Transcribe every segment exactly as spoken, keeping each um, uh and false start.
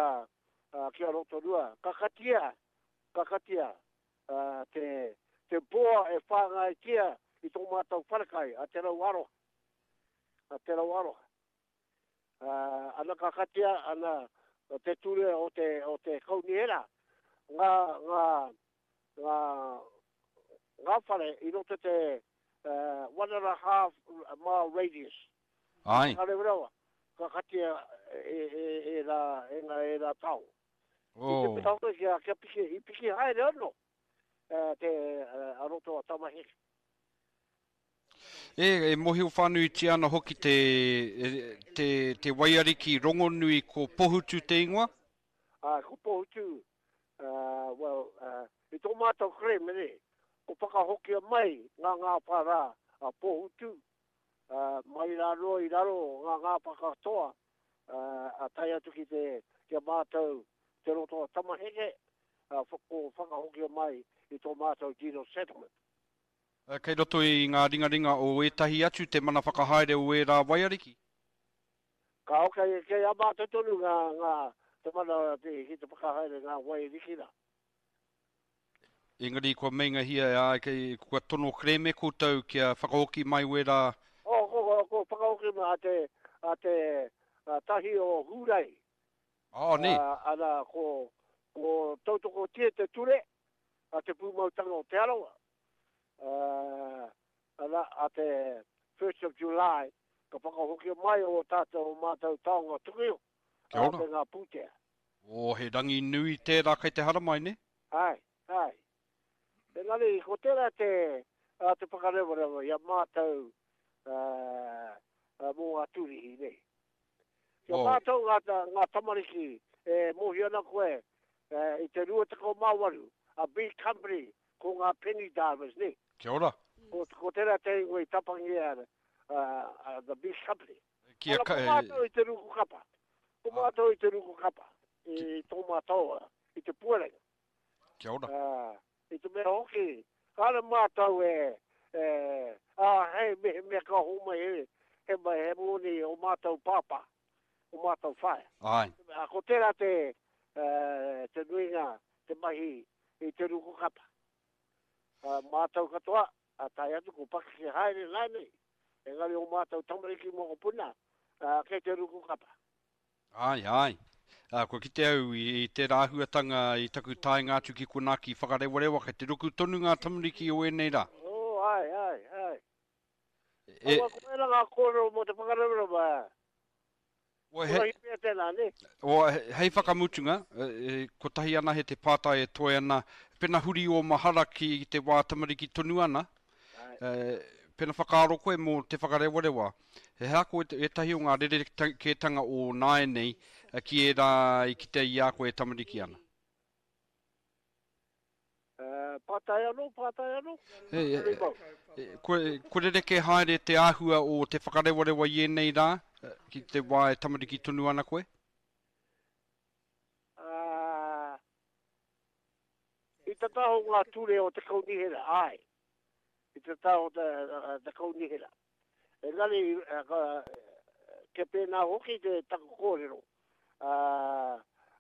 a, a, ki a Rotorua, ka katia, ka katia uh, te, te poa e whāngaitia i tō mātou wharekai, a Te Rau Aroha. A Te Rau Aroha. Uh, ana ka katia, ana te ture o te, o te kaunihera, ngā, ngā, ngā, ngā whare i roto te uh, one and a half mile radius. Ai. Ka rewa, ka katia e, e, e, rā, e ngā e rā tau. Oh. I te pita hoki kia, kia piki, i piki haere anō uh, te uh, a roto a Tamaheke. E, e mohio whānuitia ana hoki te, te, te waiariki rongonui ko Pohutu te ingoa? Ah, ko Pohutu, uh, well, uh, i tō mātou kerēme ne, ko whakahokia mai ngā ngāwhā rā a Pohutu, uh, mai rā noa i raro ngā ngāwhā katoa, uh, a tae atu ki te, ki a mātou te roto a Tamaheke, uh, ko whakahokia mai i tō mātou deed of settlement. Kei roto i ngā ringaringa o ētahi atu te mana whakahaere o ērā waiariki? Ka kei, kei a mātou tonu ngā, ngā te mana te, ki te whakahaere ngā waiariki rā. Engari kua meingahia, ā, kei, kua tono kerēme koutou kia whakahoki mai wērā? Oh, ko, ko, ko whakahoki mai a te, a te a tahi o Hūrai. Oh, ne. Uh, ana, ko, ko tautokotia te ture a te pūmautanga o Te Arawa. Uh, ana, a te first of July, ka whakahoki mai o tātou o mātou taonga tuku iho, Kia ora. a te ngā pūtea. Oh, he rangi nui tērā kei te haramai, ne? Ai, ai. Engari, ko tērā te, a te whakarewarewa i a mātou uh, uh, mō ngā tūrihi, ne? Kia Oh. mātou ngā, ngā tamariki e mōhio ana koe uh, i te rua tekau mā waru, a big company, ko ngā penny divers, ne? Kia ora. Ko, ko tērā te ingoa i tapangia uh, uh, the big company. Kia Ana, ka, ko mātou i te ruku kapa. Ko mātou i te ruku kapa. I tō mātou, i te puarenga. Kia ora. Uh, i te mea hoki, kāre mātou e, e, ah, hei, me, me ka homa he, he, mai, he moni o mātou pāpā, o mātou whaea. Ai. A, ko tērā te, uh, te nuinga, te mahi i te ruku kapa. Uh, mātou katoa, a tae atu ko pakeke haere nānei, engari o mātou tamariki mokopuna, uh, kei te ruku kapa. Ai, ai. Uh, kua kite au i, i tērā āhuatanga i taku taenga atu ki konā ki whakarewarewa, kei te ruku tonu ngā tamariki o ēnei rā. Oh, ai, ai, ai. E, Aua, ko ērā ngā kōrero mō te whakarewarewa. o, he, Korahi pea tēnā, ne? o, hei whakamutunga, e, kotahi ana he te pātai e toe ana, pena huri o mahara ki te wā tamariki tonu ana, e, pena whakaaro koe mō te whakarewarewa. He hea koe ētahi o ngā rerekētanga o nāianei ki ērā i kite i a koe e tamariki ana? Uh, pātai anō, pātai anō. E, e, e, kua, kua rereke haere te āhua o te whakarewarewa i ēnei rā, ki te wā e tamariki tonu ana koe? Uh, i te taho ngā ture o te kaunihera, ai. I te taho te, te kaunihera. Engari, uh, ke pēnā hoki te taku kōrero. Uh,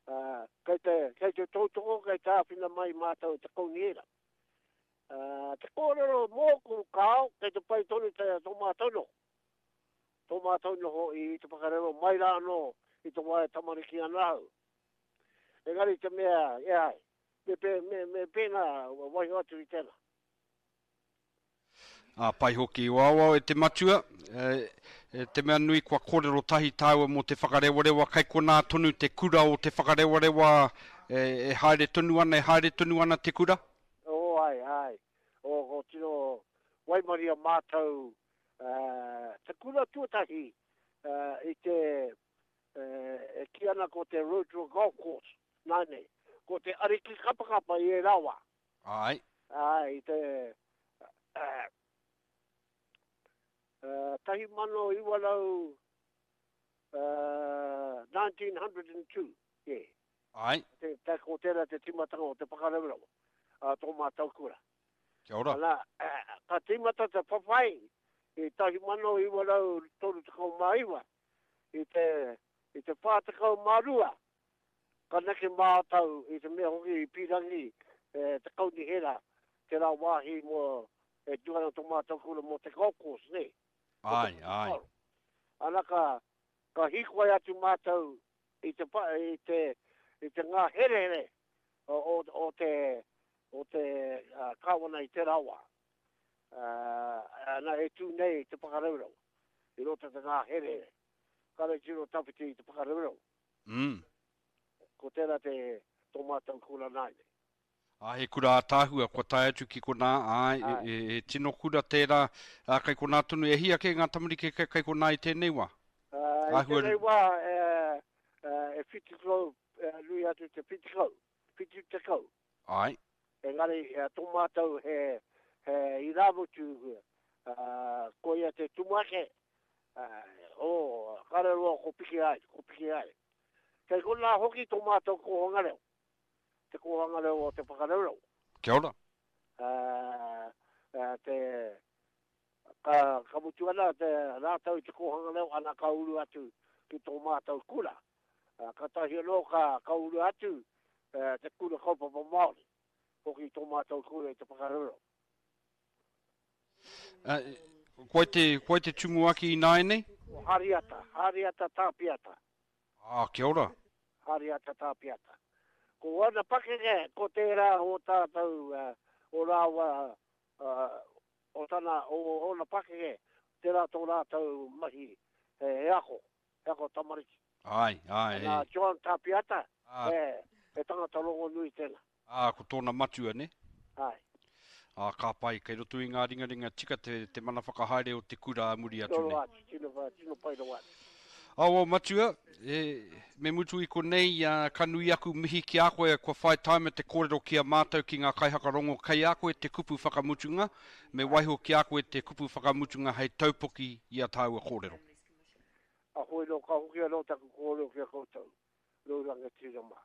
uh, kei te, kei te tautoko, kei te āwhina mai mātou te kaunihera. Uh, te kōrero mōku kāo, kei te pai tonu te tō mātou noho. Tō mātou noho i te whakarewa mai rā anō i te wā e tamariki ana au. Engari te mea, e ai, me, me, me, me pēnā waiho atu i tēnā. Ā, pai hoki. Wao e te matua, e, e, te mea nui kua kōrero tahi tāua mō te whakarewarewa, kei konā tonu te kura o te whakarewarewa e, e haere tonu ana, e haere tonu ana te kura? Oh, ai, ai. O, ko tino waimaria mātou uh, te kura tuatahi uh, i te uh, e kī ana ko te Rotorua Golf Course, nānei. Ko te ariki kapakapa i e rawa. Ai. Ai, i te uh, Uh, tahi mano iwa rau, uh, nineteen hundred and two, yeah. Ai. Te, te, ko tērā te tīmatanga o te whakarewarewa, uh, tō mātou kura. Kia ora. Ana, uh, ka tīmata te whawhai i tahi mano iwa rau toru tekau mā iwa, i te, i te whā tekau mā rua, Ka neke mātau i te mea hoki i pīrangi e, te kaunihera, te rā wāhi mō e tū ana tō mātau kura mō te golf course, ne? Ai, ai. Ana ka, ka hīkoi atu mātau i te, i te, i te ngā herehere o, o, o te, o te uh, kāwana i te rawa. Uh, ana e tū nei te Whakaraurawa, i roto te ngā herehere. Kare tino tawhiti i te Whakaraurawa. Mm. Ko tērā te tō mātou kura nāi nei. Ah, he kura ātaahua, kua tae atu ki konā, ai, e, e, e tino kura tērā, a, kai konā tonu, e hia kē ngā tamariki kei, kei konā i tēnei wā? Uh, i tēnei wā, e, e, e whitu kau, e, nui atu te whitu kau, whitu tekau. Ai. Engari, e, tō mātou he, he irāmutu, uh, ko ia te tumuake, uh, o, kare roa ko piki ai, ko piki ai. Kei konā hoki tō mātou kōhanga reo, te kōhanga reo o te Whakaraurawa. Kia ora. Uh, uh, te, ka, ka mutu ana te rātau i te kōhanga reo, ana ka uru atu ki tō mātou kura. Uh, ka tahi anō ka, ka uru atu uh, te kura kaupapa Māori, hoki tō mātou kura i te Whakaraurawa. Uh, koe te, koe te tumuaki ināianei? O Hariata, Hariata Tāpiata. Ah, kia ora. Hariata Tāpiata. Ko ana pakeke, ko tērā o tātou, uh, o rāua, uh, o tana, o ona pakeke, tērā tō rātou mahi, he, he ako, he ako tamariki. Ai, ai. Nā John Tāpiata, Ah. he, he tangata rongonui tēnā. Ah, ko tōna matua, ne? Ai. Ah, ka pai, kei roto i ngā ringaringa tika te, te mana whakahaere o te kura a muri atu Tino nei. atu, tino, tino pai rawa atu. Awa matua, e, me mutu i konei, uh, ka nui aku mihi ki a koe, kua whai taima te kōrero ki a mātou ki ngā kaihakarongo kei a koe te kupu whakamutunga, me waiho ki a koe te kupu whakamutunga hei taupoki i a tāua kōrero. A hoi no ka hoki anō taku kōrero ki a koutou, rau rangatira mā.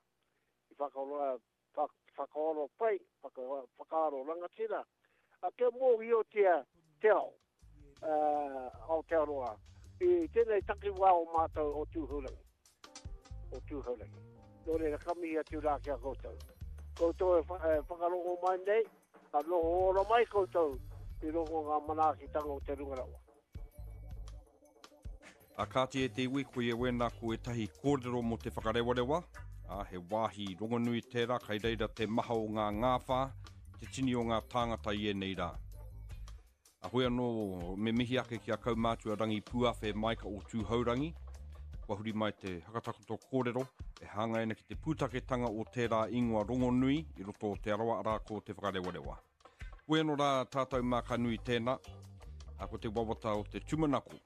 I whakaroa, whakaaro pai, whaka, whakaaro rangatira, a kia mōhiotia te ao, uh, Aotearoa, i tēnei takiwā o mātou o Tūhourangi. O Tūhourangi. Nō reira, ka mihi atu rā ki a koutou. Koutou e, wha, e whakarongo mai nei, a noho ora mai koutou i rongo ngā manaakitanga o te runga rawa. A kāti e te iwi, ko ia wēnā ko ētahi kōrero mō te Whakarewarewa, a, he wāhi rongonui tērā, kai reira te maha o ngā ngāwhā, te tini o ngā tāngata i ēnei rā. A hoi anō, me mihi ake ki a kaumātua Rangi Pūawhe Maika o Tūhourangi, kua huri mai te hakatakoto kōrero e hāngai ana ki te pūtaketanga o tērā ingoa rongonui i roto o Te Arawa, arā ko te Whakarewarewa. Hoi anō rā tātou mā ka nui tēnā, a ko te wawata o te tūmanako,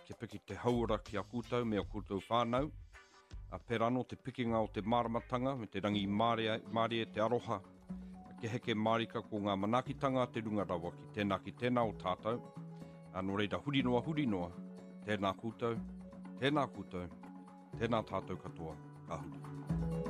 kia piki te hauora ki a koutou me a koutou whānau, a pērā anō te pikinga o te māramatanga me te rangi mārie, mārie te aroha, kia heke mārika ko ngā manaakitanga a te runga rawa ki tēnā ki tēnā o tātou. A nō reira huri noa huri noa, tēnā koutou, tēnā koutou, tēnā tātou katoa, ka huri.